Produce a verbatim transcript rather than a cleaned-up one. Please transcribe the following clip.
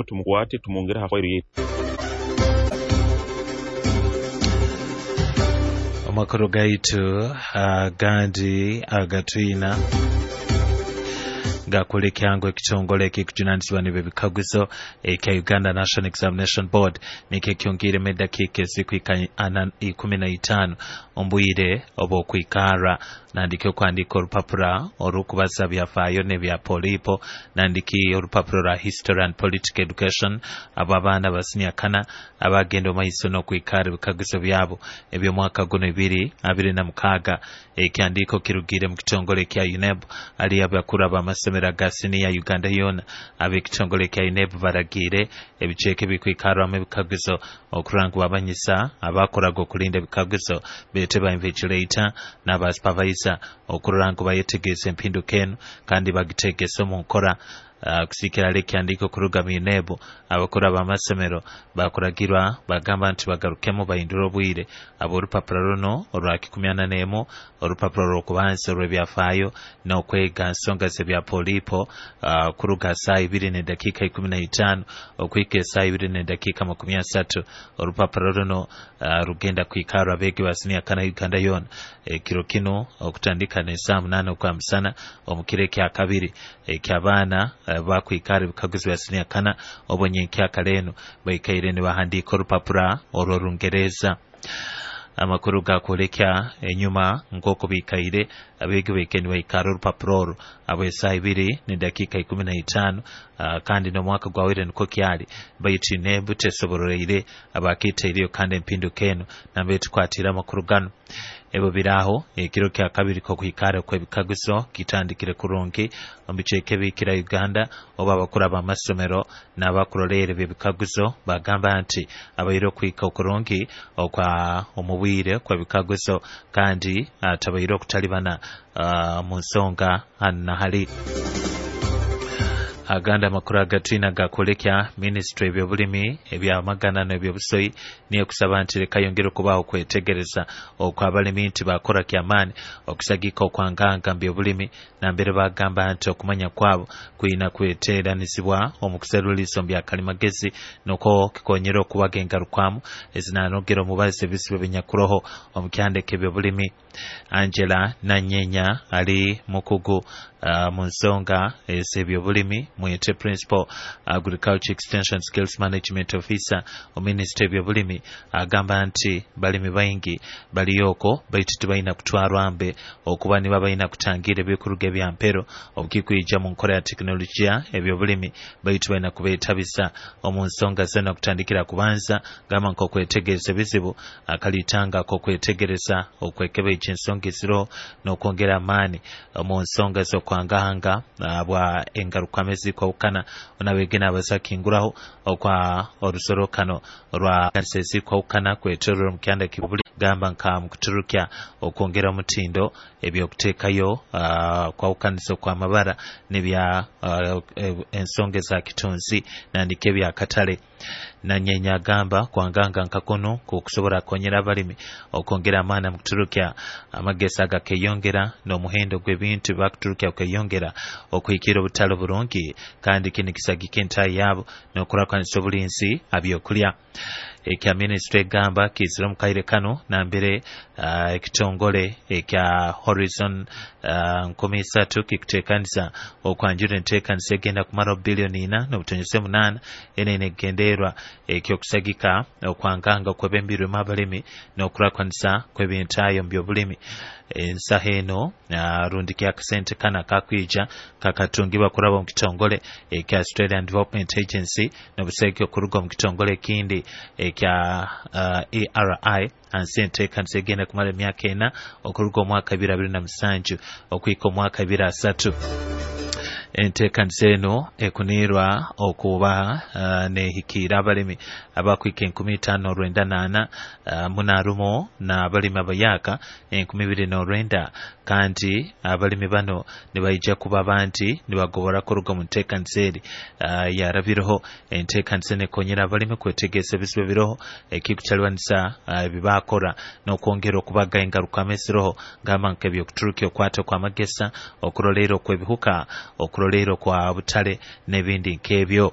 Tumukwate, tumwongere ha fairo yetu. Amakuru gaitu agandi agatwina gakulekyango ekitongole ekikujunanizibwa n'ebyo bikaguzo ekya Uganda National Examination Board nikyo kyongiiremu edakiika ezikuhika ana ikumi na itaano omu bwire obw'okwikara nandiki okwandika orupapura orukubaza byafaayo n'ebya polipo, nandiki orupapuro rwa history and political education. Abo abaana ba siniya kana abagenda omu maiso n'okwikara ebikaguzo byabo eby'omwaka guno ebiri abiri na mukaaga. Ekyandiiko kirugire mu kitongole kya UNEB ali abakuru ab'amasomero aga siniya Uganda yoona. Ab'ekitongole kya UNEB baragiire ebicweka ebikwikarwamu ebikaguzo okurora ngu babanyisa abakoraga okulinda ebikaguzo beete ba invigilator n'aba supervisor okurora ngu bayetegeeza empinduka enu kandi bagiteegesa omu nkora. uh, kusikira ali ekyandiiko kuruga mu UNEB, abakuru ab'amasomero bakuragirwa bagamba nti bagarukemu bahindure obwire ab'orupapura runo orwa kikumi ana n'emu, orupapura rw'okubanza orw'ebyafaayo n'okwega nsonga z'ebya polipo, uh, kuruga saaha ibiri n'edakiika ikumi na itaano okuhika esaaha ibiri n'edakiika makumi asatu. Orupapura runo uh, rugenda kwikarwa abeegi ba siniya kana Uganda yoona ekiro kinu okutandika n'esaaha munaana okwa musana omu kiro ekyakabiri eky'abaana uh, bakwikara ebikaguzo bya siniya kana obo nyenkyakara enu baikaire nibahandiika orupapura orw'Orungereza. Amakuru gakwolekya enyuma nk'oku biikaire abeegi baikaire nibaikara orupapuro oru abw'esaaha ibiri n'edakiika ikumi na itaano, uh, kandi n'omwaka gwawire nikwo kyali, baitu UNEB tesobororeire abakitaireyo kandi empinduka enu nambere tukwatire amakuru ganu. Ebyo biraho ekiro kya kabiri k'okwikara kw'ebikaguzo kitandikire kurungi omu bicweka ebikira Uganda, oba abakuru ab'amasomero n'abakuroleera eby'ebikaguzo bagamba nti abaire okwika okurungi okwa omu bwire kw'ebikaguzo kandi atabaire okutalibana uh, mu nsonga hanu na hali. Agandi amakuru agatwina gakwolekya minisitule ebyobulimi, ebyamagana n'ebyobusoyi niyo kusaba nti leka yongere okubaho okwetegereza okwabalimi nti bakora kyamaani okusagika okwanganga mu byobulimi, nambere bagamba nti okumanya kwabo kwina kweteranizibwa omu kuseruliiso mu byakalimagezi nukwo kikonyera okubaga engarukwamu ezinanogera omubazi ebizibu ebinyakuroho omu kyandeka ebyobulimi. Angela Nanyenya ali mukugu uh, mu nsonga ez'ebyobulimi, mwete Principal Agriculture Extension Skills Management Officer mu minisitule ebyobulimi, agamba nti balimi baingi baliyo okwo baitu tibalina kutwarwa mbe okuba niba balina kutangira ebikuruga ebyampero obukikwija mu nkora ya tekinologiya ebyobulimi, baitu balina kubeetabisa omu nsonga zona kutandikira kubanza gamba nk'okwetegereza ebizibu akalitanga k'okwetegereza okwekebeija ensonga eziroho n'okwongera amaani omu nsonga z'okwangahanga bwa engarukwamu ezikwahukana. Onabegena abazakinguraho okwa orusorokano rwa kanisa ezikwahukana kwetorora omu kyanda kibuli gamba nka mukuturukya okwongera omutindo ebyokuteekayo uh, kwawukanisa okw'amabara n'ebya uh, ensonga eza kitunzi nandika ebyakatale. Nanyenya agamba kwanganga nka kuno kukusobora kukonyera abalimi okwongera amaani mu kuturukya amagesa agakeyongera n'omuhendo gw'ebintu bakuturukya okeyongera okuhikira obutale burungi, kandi kini kisagika entayi yaabo n'okurakwanisa obulinzi abyokulya. Ekya minisitule egamba kiizire omu kaire kano nambere uh, ekitongole ekya Horizon uh, nkumi isatu kikuteekanisa okwanjura enteekanisa egenda kumara biliyoni ina n'obutonyese munaana. Eno ine egenderwa ekyokusagika okwanganga okwebembirwemu abalimi n'okurakwanisa kw'ebintaayo mu byobulimi. Ensaha eno uh, rundi kyakasente kana kakwija kakatungibwa kuraba omu kitongole ekya Australian Development Agency n'obuseke okuruga omu kitongole ekindi ekya uh, A R I hansi enteekanisa egenda kumara emyaka ena okuruga omwaka ebiri abiri na musanju okuhika omwaka ebiri asatu. Enteekanisa eno ekuniirwa okuba uh, nehikiira abalimi abakwika enkumi itaano orwenda naana uh, munarumu n'abalimi abayaka enkumi ibiri n'orwenda, kandi abalimi bano nibaija kuba banti nibagobora kuruga mu nteekanisa eri uh, yarabireho. Enteekanisa eno ekonyera abalimi kwetegeeza ebizibu ebiroho ekikukyalibanisa uh, ebibakora n'okwongera okubaga engarukamu eziroho gamba nk'ebyokuturukya okwata okw'amagesa, okuroleera okw'ebihuka, okuroleera okwa butale n'ebindi nk'ebyo.